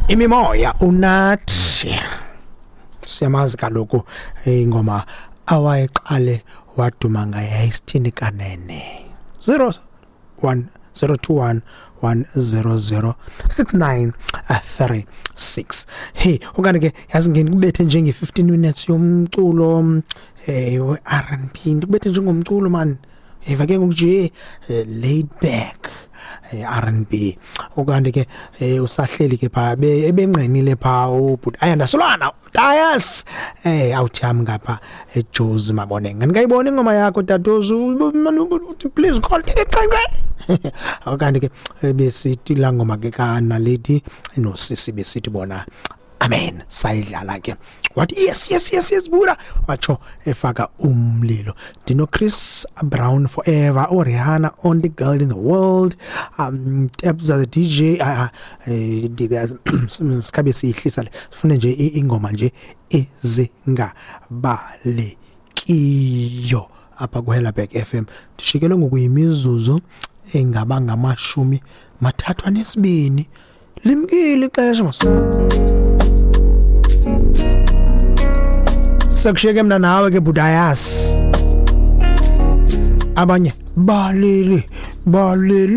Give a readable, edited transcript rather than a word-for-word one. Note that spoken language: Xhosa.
Imimoya unathi siyamazi kaloku ingoma awayeqale waduma ngayo yayisithini kanene. 01 021 100 6936. Hey, okanye ke yazi ngikubethe njenge 15 minutes yomculo we-R&B, ndikubethe njengomculo man. Eva ke ngoku nje laid back R&B. Ukanti ke usahleli ke pha ebengqinile pha ubhuti Ayanda Solana Dias awuthami ngapha eJozi Maboneng. Ngikayibona ingoma yakho tatozu, please call. Ukanti ke besithi la ngoma ke kaNaledi nosisi besithi bona amen, sayidlala ke. Wathi yes yes yes yes bura, watsho efaka umlilo. Dino Chris Brown Forever, uRihanna Only Girl in the World, Tabza the DJ. Sikhabe siyihlisa le, sifune nje ingoma nje ezingabalekiyo apha kuHellerberg FM. Ndishikele ngokuyimizuzu engaba ngama-32, limkile ixesha mos. Sekushiyeke mna nawe ke Budayas, abanye balele balele.